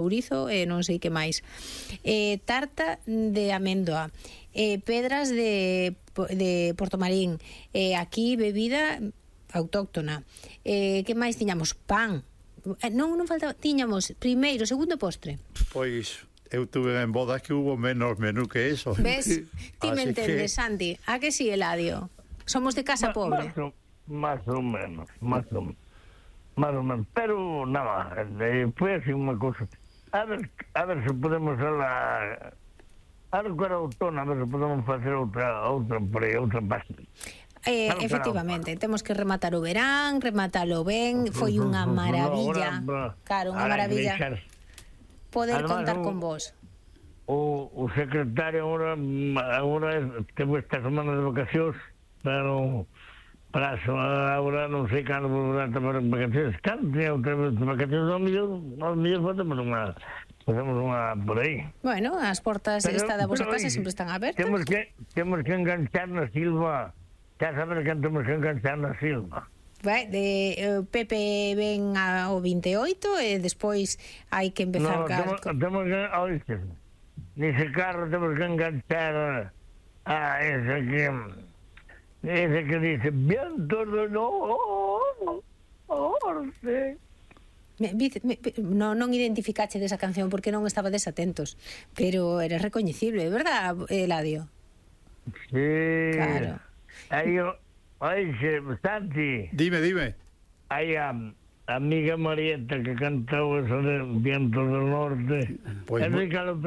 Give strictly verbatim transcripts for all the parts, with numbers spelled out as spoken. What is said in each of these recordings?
ourizo e non sei que máis. Eh, tarta de amendoa, eh, pedras de, de Portomarín, eh, aquí bebida autóctona. Eh, que máis tiñamos? Pan. Eh, non, non faltaba, tiñamos primeiro, segundo postre. Pois eu tuve en bodas que hubo menos menú que eso. Ves? Ti me Así entendes, que... Santi. A que sí, Eladio? Somos de casa Ma, pobre. Más o, más o menos, más o menos. Más o menos. Pero nada, eh, foi así unha cosa. A ver, a ver se podemos falar. A ver que era outono, a ver se podemos facer outra, outra por aí, outra página. Eh, Claro, efectivamente, claro. Temos que rematar o verán, rematalo ben, foi unha maravilla. Claro, unha maravilla poder Además, contar o, con vos. O, o secretario agora, agora temos esta semana de vacacións, pero para a agora non sei cando volverá a tomar vacacións. Cando tenha outra vez vacacións, ao mellor, ao mellor facemos unha, facemos unha por aí. Bueno, as portas Pero, esta da vosa pero, casa oye, sempre están abertas. Temos que, temos que enganchar na Silva. Xa saber que temos que enganchar na Silva. Vai, de, eh, Pepe ven ao veintioito e despois hai que empezar... No, temos, temos que, oíste, nese carro temos que enganchar a ese que ese que dice viento do norte. Me, me, no, non identificache desa canción porque non estaba desatentos, pero era recoñecible, verdad, Eladio? Sí. Claro. Aí, oíxe, Santi. Dime, dime. Aí a amiga Marieta que cantou eso de Viento do Norte. Pois é de calo,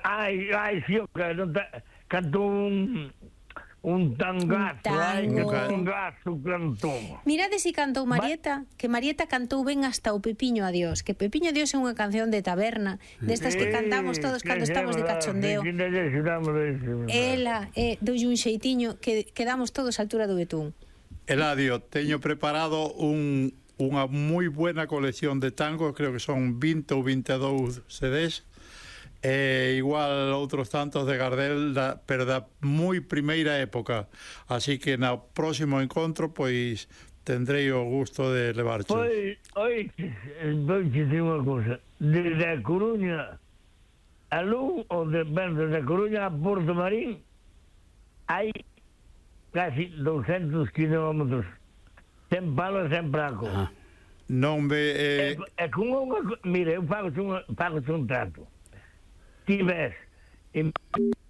ai, ai, si, que non ta, cantou un un tangazo, ai, que tangazo cantou. Mirade si cantou Marieta, que Marieta cantou ben hasta o Pepiño Adiós, que Pepiño Adiós é unha canción de taberna, destas que cantamos todos cando estamos de cachondeo. Ela, eh, doulle un xeitiño que quedamos todos á altura do betún. Eladio, teño preparado un, unha moi buena colección de tangos, creo que son vinte ou veintidous C Ds, e igual outros tantos de Gardel, da, pero da moi primeira época, así que no próximo encontro pois tendrei o gusto de levarche. Pois, oi, vou dicir unha cosa, desde a Coruña a Lugo, ou de, ben, desde a Coruña a Portomarín hai casi doscientos kilómetros sen palo e sen praco. Ah. Non ve... Eh... É, é con unha... Mire, eu fago un, fago un trato. Ti ves, en,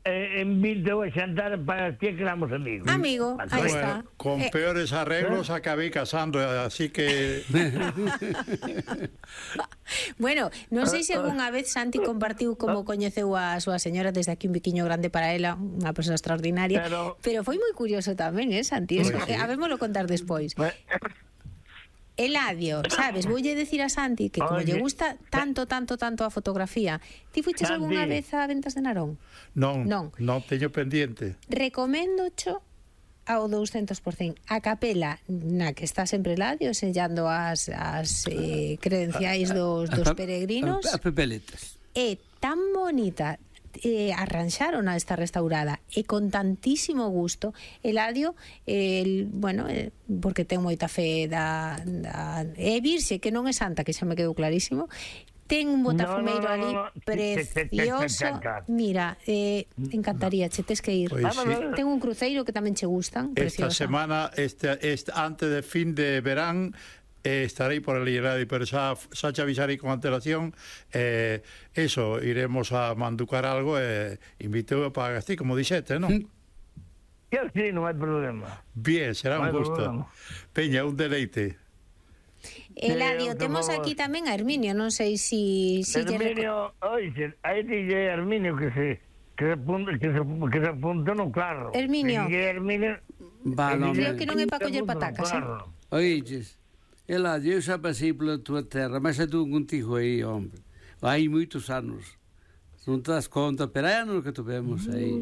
en vinte a xantar para ti que éramos amigos. Amigo, aí está. Bueno, con eh, peores arreglos eh? acabei casando, así que... Bueno, non sei se algunha vez Santi compartiu como coñeceu a súa señora, desde aquí un biquiño grande para ela, unha persoa extraordinaria, pero, pero foi moi curioso tamén, eh, Santi? Eso, sí. Habémoslo contar despois. Eladio, sabes, voulle decir a Santi que como lle gusta tanto, tanto, tanto a fotografía, ti fuches algunha vez a Ventas de Narón? Non, non, non teño pendiente. Recomendo cho ao douscentos por cento a capela na que está sempre Eladio sellando as, as eh, credenciais dos, dos peregrinos. A pepeletas. É tan bonita, eh, arranxaron a esta restaurada e con tantísimo gusto. Eladio, el, bueno, eh, porque ten moita fe da, da é virxe, que non é santa, que xa me quedou clarísimo. Ten un botafumeiro no, no, no, no, no. ali precioso. Mira, eh, encantaría, che tes que ir. Pues sí. Ten un cruceiro que tamén che gustan. Esta preciosa. semana, este, este, antes de fin de verán, eh, estarei por el Iradio, pero xa, xa te avisarei con antelación. Eh, eso, iremos a manducar algo e eh, inviteu para Gastí, como dixete, non? Eu sí, non hai problema. Bien, será no un gusto. Problema. Peña, un deleite. Eladio, temos aquí tamén a Herminio, non sei si... si Herminio, oixe, aí dille Herminio que se que se apunta, que se, que se apunta no carro. Herminio. Herminio Va, non, creo que non é para coller patacas, eh? Oiches, Eladio, eu xa pasei pola tua terra, mas xa tu contigo aí, hombre. Hai moitos anos. Non te das conta, pero hai anos que tuvemos aí.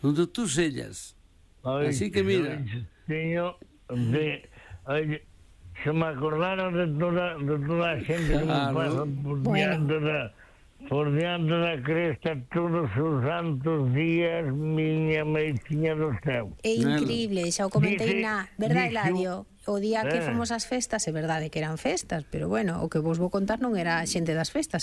Onde tú sellas. Así que mira. Señor, de, oye, se me acordaron de toda, de toda a xente que me pasa por diante da, por diante da cresta todos os santos días, miña meitinha do céu. É increíble, xa o comentei dice, na... Verdade, Eladio? O día que eh. fomos ás festas, é verdade que eran festas, pero bueno, o que vos vou contar non era a xente das festas,